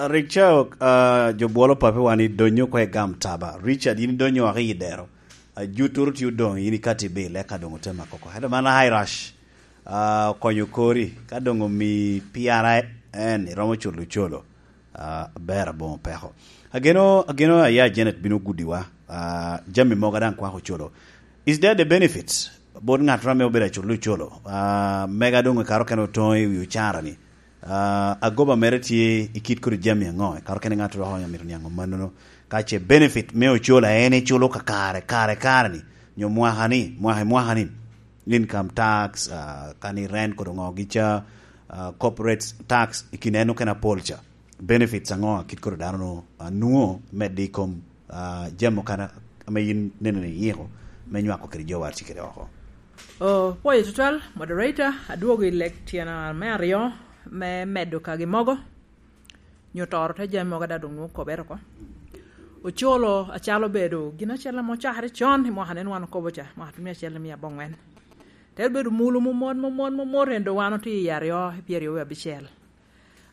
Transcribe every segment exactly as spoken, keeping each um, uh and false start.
Rik ca, ah, jo bwolo pape wan i donyo oko i gam taba. Richard, yin idonyo oko i dero. Ah, juturu tye odoŋ, yin ikati bil, eka doŋ ote mako oko. Ento man high rush. Ah, okonyo kori. Ka doŋ omi P R I N, iromo culo colo. Ah, aber aboŋo peko. Ageno, ageno aya Janet bino gudiwa. Ah, jami mogo daŋ kwako colo. Is there the benefits? Bot ŋat ame obedo aculo colo. Ah, mega doŋ i kare okene otoŋo i wi ocara ni. Ah, agoba mere tye i kit kodi jami aŋo? I kare okene ŋat dok amito niaŋ mannono. Ka ce benefit me ocola en iculo ka kare, kare, kare ni, nyo mwaka ni, mwaka i mwaka ni, income tax, ah, kani rent kodi ŋo gica, ah, corporate tax, i kin en okene apol ca. Benefits aŋo a kit kodi dano no, ah, nwoŋo medde i kom, ah, jami okene ame yin neno ni iyiko me nywako kede jo war tye kede oko? Oh, pwoyo tutwal, moderator, adwogo i lek tyena me aryo me medo kagi mogo. Nyo toro te jami mogo ada doŋ nwoŋo kobere oko. Ocolo acalo obedo gin acel ame ocakere con i mwaka nen wan okobo ca, mwaka tye mia acel mia abongwen. Te bedo mulo momot, momot, momot, en doŋ wan otye i aryo, i pyeraryo wie abicel.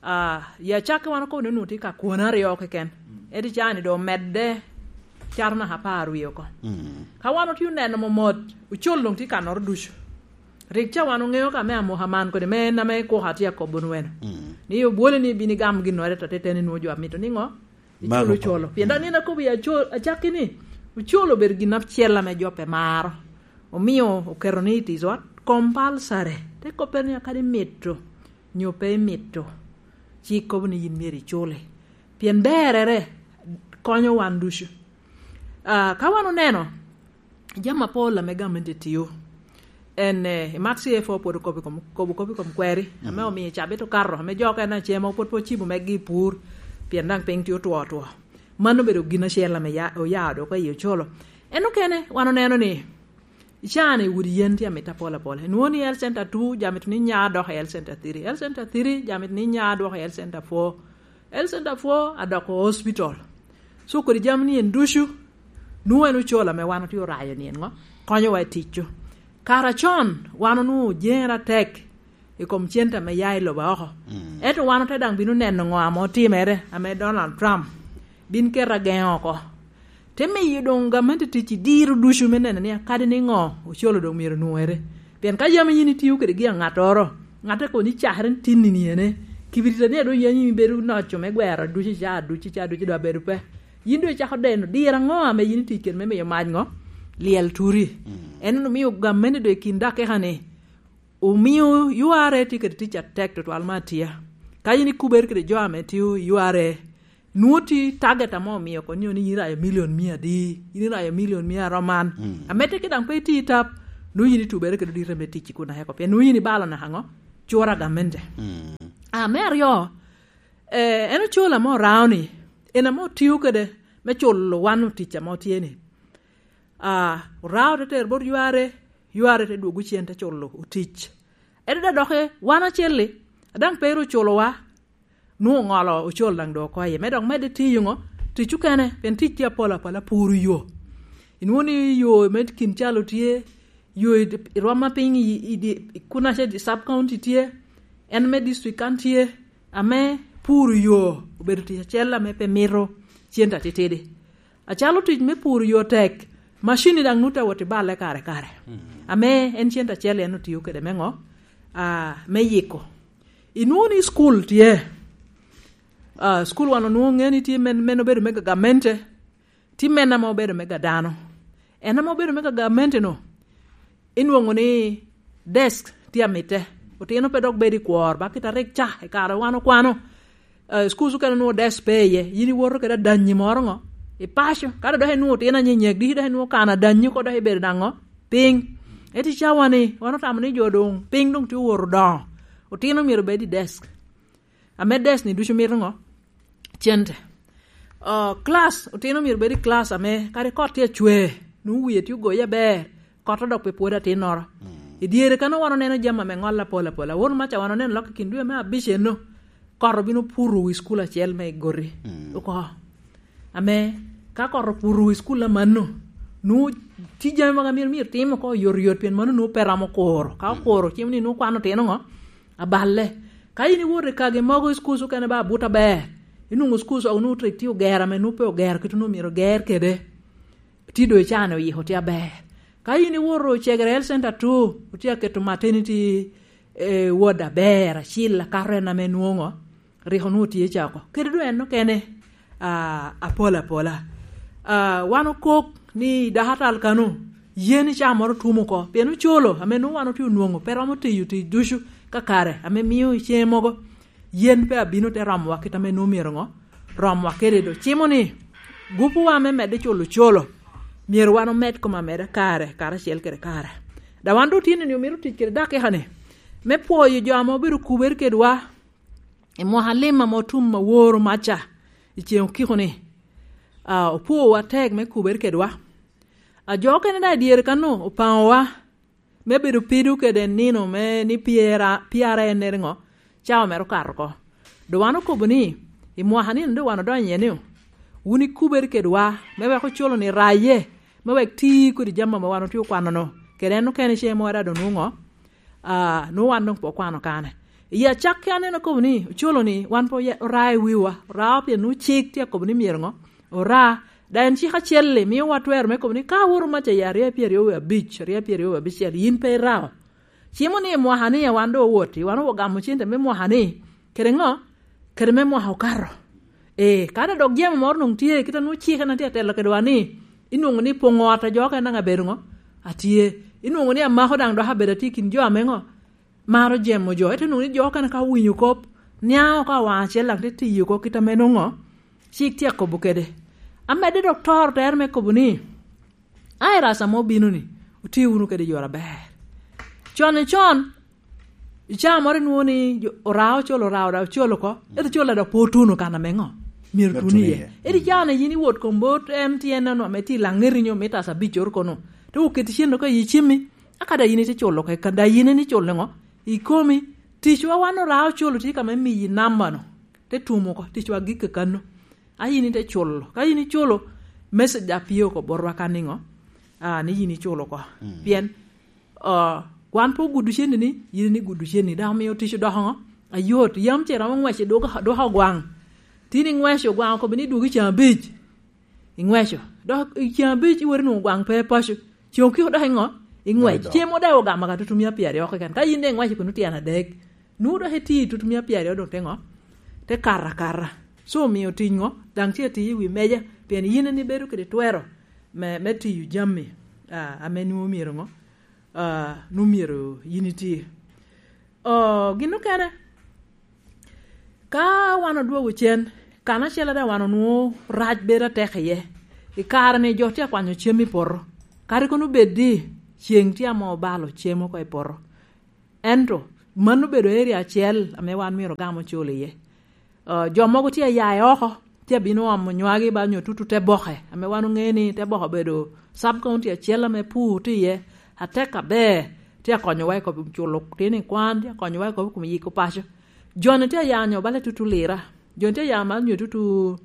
Ah, ya cak wan okobo ni onwoŋo tye ka kwone aryo keken. Ento caa ni doŋ omedde cato naka apar wie oko. Mm. Ka wan otye oneno momot, ocol doŋ tye kanoro ducu. Rik ca wan oŋeo ka me amoka man kodi, me en ame kuka tye akobo nweno. Mm. Ni obwole ni ibin igam ginnoro, ento te teni nwoŋo jo amito niŋo? Icolo colo. Pien daŋ nino akobo ya co-, acakki ni, ocolo obedo gin acel ame jo pe maro. Omio oketo ni it is what? Compulsory. Te koppere ni akadi mito, nyo pe imito, ci ikobo ni yin myero icule. Pien berere konyo wan ducu. Ah, ka wan oneno, jami apol ame gamente tio, en, eh, i Mat C F O pwod okobo i kom, kobo kop i kom kweri, ame omio cabit okato, ame jo okene acemo pwod pe ocibo megi i pur, pien daŋ piny tye otwo otwo. Mano obedo gin acel ame ya-, oya dok i ocolo. En okene, wan oneno ni, i caa-ni udi yen tye amito apol apol. Inwoŋo ni Health Center two, jami to ni nya dok i Health Center three. Health Center three, jami to ni nya dok i Health Center four. Health Center four adoko hospital. So kodi jami ni en ducu, nwoŋo en ocol ame wan otye orayo ni en ŋo? Konyowa i ticcu. Kara con, wan onwoŋo ojeŋere atek i kom cente ame ya i lobo oko. Mm. Ento wan ote daŋ bino neno ŋo ame otimere, ame Donald Trump bin keto ageŋo oko. Te miyo doŋ gamente tic i diro ducu me neno ni akadi ni ŋo ocolo doŋ myero onwoŋere. Pien ka yam yin itio kede gin aŋattoro, ŋatte kono ni cakere tin ni niene, kibirita ni a doŋ yen yin ibedo noco me gwero ducu i caa ducu, i caa ducu doŋ abedo pe. Yin doŋ icako deno diro aŋo ame yin itic kede me miyo mac ŋo? Lyel turi. Mm. En omio gamente doŋ i kin dakika ni, omio U R A tye kede tic atek tutwal me atia. Ka yin ikubere kede jo ame tio i U R A, nwoŋo tye target ame omio oko ni, ni yin irayo milion mia adi, yin irayo milion mia aroman. Mm. Amedde ki daŋ pe itye i tap, nwoŋo yin itubere kede odite me tic i kun aeko, pien nwoŋo yin ibalo naka ŋo? Cura gamente. Mm. Ah, me aryo, eh, en ocol ame orao ni, en ame otio kede me culo wan otic ame otye ni. Ah, orao te tero bot U R A, U R A te dwogo cen te culo otic. Ento da doki wan acel-li, a daŋ pe ru oculowa, nwoŋo oŋolo ocol daŋ doŋ oko iye. Me dok medde tiyo ŋo? Tic okene, pien tic tye apol apol, apuro yo. Inwoŋo ni yo me kin calo tye, yo i, i rwom ma piny i, i, i, i kun ace sub county tye, en me district kan tye, ame puro yo obedo tic acel ame pe mito cente atitidi. Acalo tic me puro yo tek, macini daŋ nwoŋo te wot i balle kare kare. Mm. Ame en cente acel en otio kede me ŋo? Ah, me yiko. Inwoŋo ni school tye. Ah, school wan onwoŋo ŋeo ni tye men, men obedo me gamente, tye men ame obedo me ga dano. En ame obedo me ga gamente-nu, inwoŋo ni desk tye amitte. Otino pe dok bedo i kwor, ba kit a rik ca, i kare wan okwano. Eh, schools okene onwoŋo desk pe iye, yin iwoto kede adanyi moro ŋo? I paco, kadi dok inwoŋo otino anyenyek, diki dok inwoŋo kano adanyi oko dok ibedo daŋ ŋo? Piny. Ento i cawa-ni, wan otamo ni jo doŋ, piny doŋ tye owoto odoŋo. Otino myero obed i desk. Ame desk-ni ducu mito ŋo? Cente. Oh, class, otino myero bed i class ame kadi kot tye acwe, nwoŋo wie tye ogoye aber, kot odok pe pwod atinnoro. Mm. I dyere kan wan oneno jami ame ŋol apol apol. Awor maca wan oneno lok i kin dwe me abic eno, kot obino puro wi cukul acel me i Goti. Mm. Oko. Ame ka kot opuro wi cukul amanno, nwoŋo tye jami mogo a myero, myero tim oko oyotoyot, pien mano nwoŋo pe romo kuro. Ka okuro, cimo ni nwoŋo kwano otino ŋo? Aballe. Ka in iwoto i kagi mogo i cukul okene ba abut aber, Inwoŋo school so onwoŋo tek tye ogero ame nwoŋo pe ogero kit onwoŋo myero oger kede. Tye doŋ icane oyiko tye aber. Ka in iwoto Cegere Health Center two, otye aketo maternity, eh, ward aber, acil akato en ame nwoŋo, rik onwoŋo tye ca oko. Kede doŋ en okene, ah, apol apola. Ah, wan okok ni dakatal kano, yen icaa moro tum oko, pien ocolo ame nwoŋo wan otye onwoŋo, pe romo tiyo tic ducu ka kare, ame mio i ceŋe mogo, yen pe abino te romowa kit ame nwoŋo myero ŋo, romowa kede do. Cimo ni, gupuwa me medde culo ocolo, myero wan omed kom ameda kare, karacel kede kare. Da wan doŋ tye ni omito tic kede dakika-ni, me pwoyo jo ame obedo kubere kedwa, i mwaka lim ame otum aworo maca, i ceŋ okiko ni, ah, opwowa tek me kubere kedwa. A jo okene daŋ i dyere kano opaŋowa, me bedo pido kede nino me ni pyera, pyara en nere ŋo, cawa mere okato oko. Doŋ wan okobo ni, i mwaka nino doŋ wan odonyo iye ni, wun ikubere kedwa, me wek ocolo ni raye, me wek ti kodi jami ame wan otye okwano-nu, kede en okene ce mo era doŋ nwoŋo, ah, nwoŋo wan doŋ pe okwano kane. I acakki aneno akobo ni, ocolo ni, wan pe oya-, ora i wiwa, ora pien nwoŋo cik tye akobo ni myero ŋo, ora, da en cik acel-li mio wa twero me kobo ni ka awoto maca i aryo pyeraryo wie abic, aryo pyeraryo wie abicel, yin pe irao. Cimo ni i mwaka ni a wan doŋ owoti, wan ogamo cente me mwaka ni, kede ŋo? Kede me mwaka okato. Ee, kadi dok jemo moro doŋ tye, kit a nwoŋo cik en a tye atelo kedwa ni, inwoŋo ni poŋo ot a jo okene daŋ abedo ŋo? Atye. Inwoŋo ni amako daŋ dok abedo atye i kin jo ame ŋo? Maro jemo jo, ento nwoŋo ni jo okene ka owinyo kop, niaŋ oko awaŋ acel daŋ te tiyo oko kit ame nwoŋo cik tye akobo kede. Amedde dok toro tere me kobo ni, "Ai, rasa mo obino ni, otye wunu kede yore aber." Con i con, i caa moro inwoŋo ni jo, ora ocol, ora, ora ocol oko, ento col dok pe otuno kan ame ŋo? Myero Myero tun tun iye. Iye. Ento i caa-ni yin iwot kom bot M T N-nu ame tye i Laŋeti nyo me tasa abic oro kono, te oketi cen oko i cimmi, aka da yin ite culo keken, da yin en iculo ŋo? I komi, ticwa wan ora ocol tye ka me miyi namba-nu, te tumo oko, ticwa gik kekano. A yin ite culo. Ka yin iculo, message da pye oko botwa ka niŋo? Ah, ni yin iculo oko. Mm. Pien, ah, wan pe ogudo ceni ni, yin ni gudo ceni, dok omio tic odoko ŋo? Ayot, yam ce romo ŋwec i dwoko, dwoko gwaŋ. Tin iŋweco gwaŋ okobo ni dwogo i caa abic. Iŋweco. Dok i caa abic iwot inwoŋo gwaŋ pe paco. Ceng okiko dok iŋo? Iŋwec. Dok idok. Cem mo dok ogamo ka tutumia pyeraryo keken. Ka yin daŋ iŋweco kun tyen adek, nwoŋo dok iti i tutumia pyeraryo doŋ te ŋo? Te kato akata. So omio tic ŋo? Daŋ tye atiyo i wi meja, pien yin en ibedo kede twero me, me tiyo jami, ah, ame nwoŋo myero ŋo? Ah, nwoŋo myero yin iti. Oh, gin okene, ka wan odwogo cen, kan acel daŋ wan onwoŋo rac bedo atek iye. I kare-ni jo tye akwanyo cem i poto. Kadi kono bed ni ceŋ tye ame obalo cem oko i poto. Ento mano obedo area acel ame wan myero ogam ocul iye. Ah, jo mogo tye aya i oko, tye abino omo nywagi ba nyo tutu te boke, ame wan oŋeo ni te boke obedo sub county acel ame pur tye iye, atek aber, tye akonyowa i kom culo tino i kwan, tye akonyowa i kom, kom yiko paco. Jo-ni tye aya nyo bala tutu Lira, jo-ni tye aya ma nyo tutu,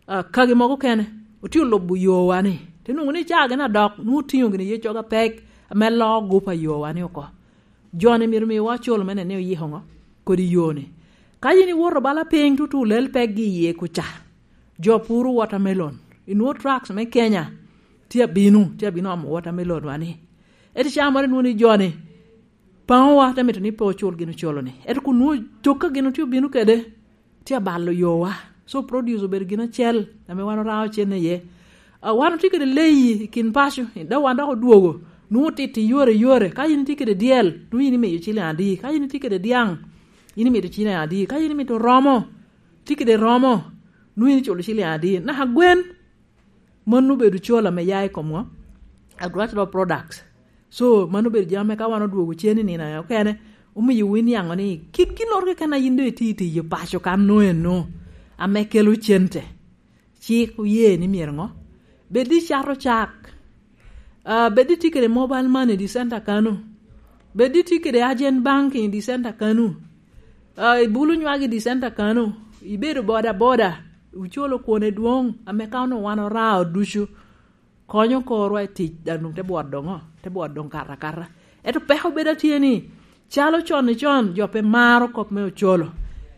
ah, kagi mogo kene, otye olubo yowa-ni. Te nwoŋo ni caa gin adok, nwoŋo otiŋo gini yeccogo apek, ame loo gup a yowa-ni oko. Jo-ni myero miwa col me neno ni oyiko ŋo? Kodi yo-ni. Ka yin iwoto bala piny tutu lel pekgi iye kuca, jo puro watermelon, inwoŋo trucks me Kenya tye abino, tye abino omo watermelon wa ni. Ento caa moro inwoŋo ni jo-ni, paŋowa te mito ni pe ocul gin ocolo-ni. Ento kun nwoŋo cok ka gin otye obino kede, tye abalo yowa. So produce obedo gin acel ame wan orao cen iye. Ah, wan otye kede leyi i kin paco, dok wan dok odwogo. Nwoŋo titi yore yore. Ka in itye kede dyel, nwoŋo in imiyo ciliŋ adi? Ka in itye kede dyaŋ, in imito ciliŋ adi? Ka in imito romo, tye kede romo, nwoŋo in iculo ciliŋ adi? Naka gwen, mano obedo col ame ya i kom ŋo? Agricultural products. So, mano obedo jami ame ka wan odwogo cen i nino okene, omiyo winiaŋo ni kit ginnoro keken a yin doŋ itye i tiyo paco kan no eno, ame kelo cente. Cik oye ni myero ŋo? Bed icato cak. Ah, bed itye kede mobile money i di center kano. Bed itye kede agent banking i di center kano. Ah, ibulo nywagi i di center kano. Ibedo boda boda. Iculo kwone dwoŋ, ame ka onwoŋo wan orao ducu. Konyo korwa i tic, daŋ doŋ te bwot doŋo, te bwot doŋ kato akata. Ento peko bedo atye ni, calo con i con, jo pe maro kop me ocolo.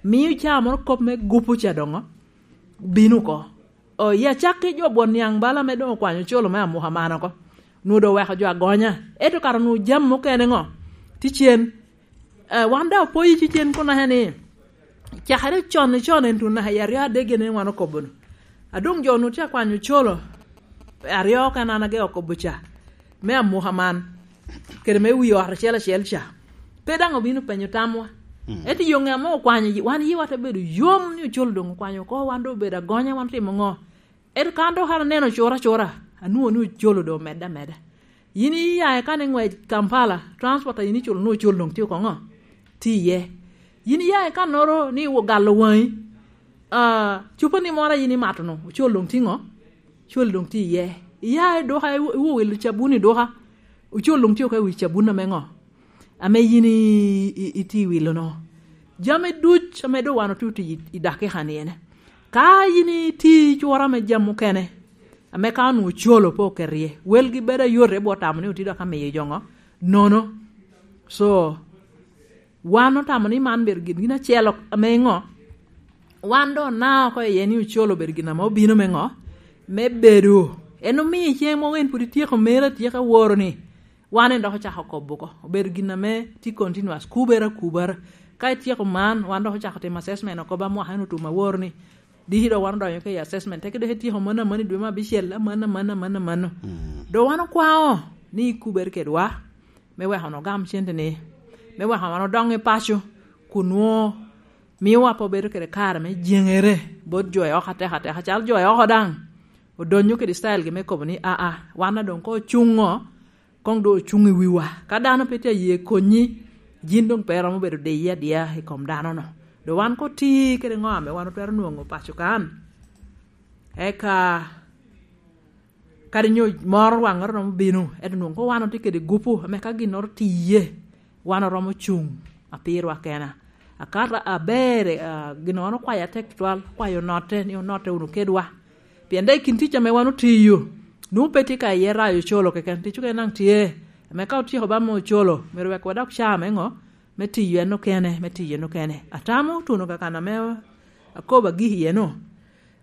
Mio caa moro kop me gupo ca doŋo, bino oko. O, i acakki jo bwot niaŋ bala ame doŋ okwanyo ocolo me amuka man oko, onwoŋo doŋ oweko jo agonya. Ento kara onwoŋo jami mukene ŋo? Tye cen. Eh, wan daŋ opoyo i cen kun naka ni, cakere con i con en tun naka i aryo adek gin en wan okobo-nu. A doŋ jo onwoŋo tye akwanyo ocolo, aryo okene an age okobo ca, me amuka man, kede me wi ot acel acel ca. Pe daŋ obino penyo tamwa. Mm. Ento i yo ŋe ame okwanyo, wan yiwa te bedo yom ni ocolo doŋ okwanyo oko, wan doŋ obedo agonya, wan otimo ŋo? Ento kan dok an aneno cura cura, anwoŋo ni ocolo doŋ omedde ameda. Yin iya i kan i ŋwec Kampala, transport a yin iculo ni ocol doŋ tye oko ŋo? Tye iye. Yin iya i kannoro ni ogalo waŋi, ah, cupani moro a yin imato-nu, ocol doŋ tye ŋo? Ocol doŋ tye iye. Iya i duka, iwo-, iwowilo cabun i duka, ocol doŋ tye oko i wi cabun ame ŋo? Ame yin i-, i-, itye i wilo-nu. Jami duc ame doŋ wan otye otic i, i dakika-ni ene. Ka yin itye i cura me jami mukene, ame ka onwoŋo ocolo pe oket iye, welgi bedo ayot, i bwot tamo ni otye dok amiyo jo ŋo? Nono. So, wan otamo ni man bedo gin, gin acel ok-, ame ŋo? Wan doŋ onao oko iye ni ocolo obedo gin ame obino me ŋo? Me bedo. En omio i ceŋ mogo en pwod ityeko meri atyeka woro ni, wan en dok ocako kobo oko, obedo gin ame tye continuous, kubere akubara. Ka ityeko man, wan dok ocako timo assessment oko ba mwaka en otum aworo ni, diki dok wan odonyo ka i assessment, teke dok ityeko mano amano i dwe me abicel, amano, amano, amano, amano. Mm. Dok wan okwao ni ikubere kedwa, me weko wan ogam cente-ni, me weko wan odoŋ i paco, kun nwoŋo miowa pe obedo kede kare me jeŋere bot jo i oko atek ateka, calo jo i oko daŋ odonyo kede style gi me kobo ni, "Aa, wan a doŋ koŋ ocuŋ ŋo, koŋ doŋ ocuŋ i wiwa." Ka dano pe tye aye konyi, yin doŋ pe iromo bedo diye adiya i kom dano-nu. Doŋ wan koŋ oti kede ŋo ame wan otwero nwoŋo paco kan? Eka kadi nyo moro waŋŋoro romo bino, ento nwoŋo koŋ wan otye kede gupu ame ka ginnoro tye iye, wan oromo cuŋ apirwa kena. Akato aber, ah, gin wan okwayo atek tutwal, okwayo onotte, ni onotte wunu kedwa. Pien daŋ i kin tic ame wan otiyo, nwoŋo pe tye ka iye rayo ocolo keken, tic okene daŋ tye. Ame ka otyeko ba me ocolo, myero wek wadok caa me ŋo? Me tiyo en okene, me tiyo en okene. Atamo tuno kakan ame akobo agiki iye-nu.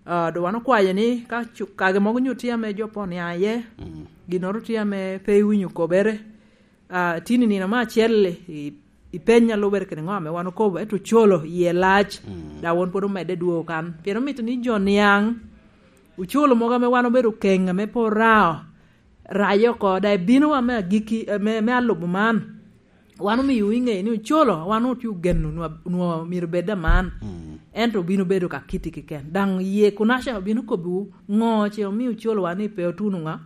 Ah, doŋ wan okwayo ni ka cu-, kage mogo onyo tye ame jo pe oniaŋ iye, mm, ginnoro tye ame pe iwinyo kobere, ah, tin i nino me acel i, i peny a lubere kede ŋo ame wan okobo, ento ocolo iye lac, mm, dok won pwod omedde dwogo kan. Pien omito ni jo niaŋ ocolo mogo ame wan obedo keŋ ame pe orao, raye oko, daŋ ibino wa me agikki, eh, me, me alubo man. Wan omio iŋeyo ni ocolo, wan otye ogeno nwa-, nwa myero bed aman. Mm. Ento obino bedo ka kiti keken. Daŋ iye kunaca obino kobbiwu ŋo ce omio ocolo wan ni pe otuno ŋa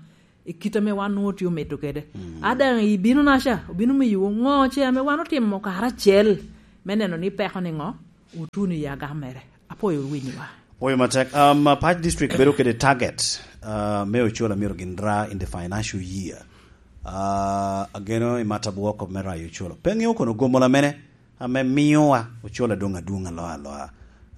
i kit ame wan nwoŋo tye omito kede. Mm. A daŋ ibino naca, obino miyowu ŋo ce ame wan otimo karacel me neno ni peko ni ŋo otuno i agam mere. Apwoyo wunu winyowa. Apwoyo matek. Um, uh, Pac District bedo kede target, uh, me ocol a myero gin ra in the financial year. Uh, ageno i mata bwoko me rayo ocolo. Pe ŋeo kono gomola mene ame miyowa ocol adwoŋ adwoŋ aloa aloa,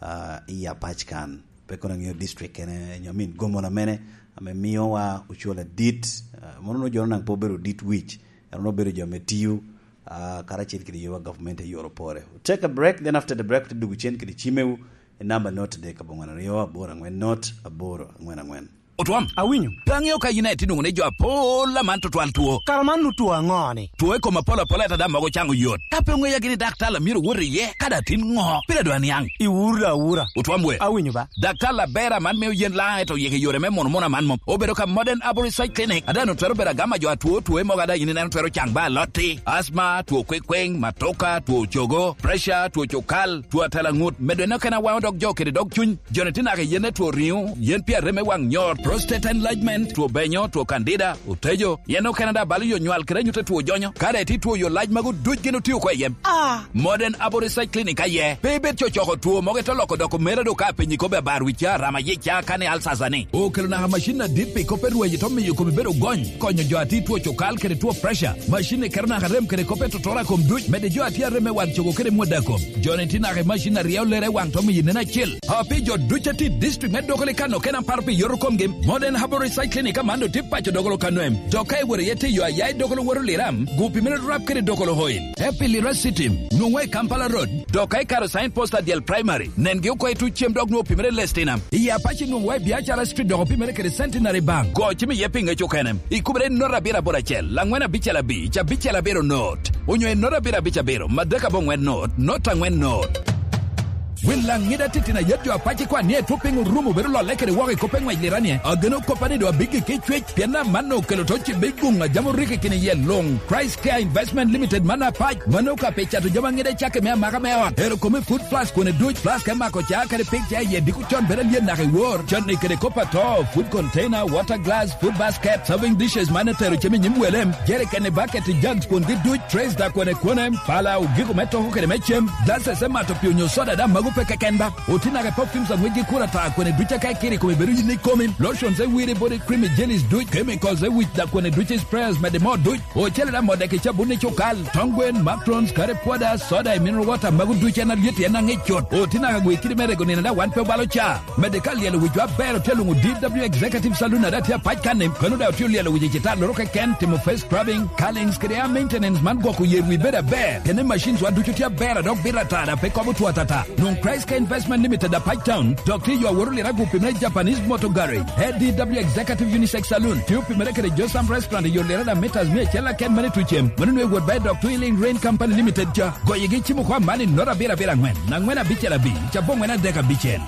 uh, i Apac kan. Pe kono ŋeo district kene, nyo, I mean, gomola mene ame miyowa ocol adit, uh, mono no jo naŋ pe obedo dit wic, ero no obedo jo me tiyo, ah, karacel kede yowa government e yor opore. Take a break, then after the break, te dugu cen kede cimewu, e namba not adek abongwen aryo aboro angwen not aboro angwen angwen. Otwom, awinyo. Pe aŋeo ka yin aye tye nwoŋo ni jo apol aman tutwal two. Kara man nu two aŋo ni? Two i kom apol apol, ento daŋ mogo caŋo yot. Ka pe oŋeya gini daktar a myero wot iye, ka daŋ tin ŋo? Pire dwa niaŋ. Iwuro da awura. Otwom we. Awinyo ba. Daktar aber aman mio yen laŋ, ento yeke yore me mono mono aman mom. Obedo ka Modern Arborist Clinic, a daŋ twero bedo agama jo atwo, two mogo a daŋ yin ineno twero caŋ ba alotti, asma, two kwekweng, matoka, two cogo, pressure, two cukal, two atela ŋut, medo en okene awaŋo dog jo kede dog cuny. Joni tye naka i yen ne two riŋo, yen pi arem me waŋ nyor, prostate enlargement, two benyo, two candida, otejo, yen okene daŋ balo yo nywal kede anyut a two jonyo. Ka daŋ itye two yo lac magu duc gin otio oko i yem. Ah! Modern Abo Research Clinic aye. Pe ibed cocoko two mogo ito loko doko mere do ka apenyi kobbe abar wicca, rama yica, kani alsasa ni. Okelo naka macin adit pi kop me rweny ito miyo komi bedo gony, konyo jo a tye two cukal kede two pressure. Macin ni keto naka rem kede kop me totora kom duc, medde jo a tye arem me waŋ cogo kede mwada kom. Joni tye naka i macin aryo lere waŋ to miyo nen acel. A pi jo duc a tye i district me Dokoli kan okene aparo pi yoto komgi, Modern Herbal Recycling Clinic aman otye paco Dokolo Kanwem, dok ka iworo iye tiyo aya i Dokolo Woro Liram, gu pi mere rap kede Dokolo Oil. Happy Lira City, nwoŋwa i Kampala Road, dok ka ikaro Sign Post Adyel Primary, nengi oko i tuc cem dok nwoŋo pi mere Lestina. I Apac nwoŋwa i Biacara Street dok pi mere kede Centenary Bank. Go cim iye pi ŋec okene. Ikubere i note abiro aboro acel, angwen abicel abic, abicel abiro note, onyo i note abiro abic abiro, madek aboŋwen note, note angwen note. Wil laŋ ŋida titino ayet jo Apac ikwan ni etwo piny orumo bedo lolle kede woko i kop eŋwec liranie. Ageno koppa ni doŋ abiggi ki cwec, pien amanno okelo to cibe i guŋ a jam oriko i kine yel luŋ. Christ Care Investment Limited man Apac, mano ka pe cato jami aŋida cakke me amaka me ot. Ero kome food plus kone duc, plus ka imako ca kede pig ca iye diko con bedo alyen naka i wor. Con i kede kop ato, food container, water glass, food basket, serving dishes man etero cem i nyim wele, jerikeni, bucket, jugs kwongi duc, trays da kone kone, pala, ogiko me toko kede me cem, glasses me mato pi onyo soda da mago pe keken ba. Oti naka perfumes aŋwec gi kura ta kone duc aka ikiri kome bedo yin ikomi, lotions e wiri body cream e jellies duc, chemicals e wic da kone duc sprayers mede mo duc, ocele da mo dek i cabun i cukal, tong gwen, macrons, kare pwoda, soda e mineral water mago duc en alyet en aŋec cut. Oti naka gwe kidi me rego nino da wan pe obalo ca. Mede ka lyelo wicwa aber otye luŋo D W Executive Saloon ada tye apac kanni, kono da otye olyelo wic i cita loro keken, timo face scrubbing, curlings kede a maintenance man gwoko yer wi bedo aber. Kene machines wa ducu tye aber a dok bito ata da pe kobo two atata. Nwoŋ Christ Care Investment Limited Apac Town, dok tye yo aworo lira gupi me Japanese Motor Garage. A D W Executive Unisex Saloon, tye opimere kede Josam Restaurant i yo lira da meters mia acel aken mane tucem. Mano nwe wot ba i dok Twilling Rain Company Limited ca. Goyigi cimo kwa man i note abiro abiro angwen, angwen abicel abic, aboŋwen adek abicel.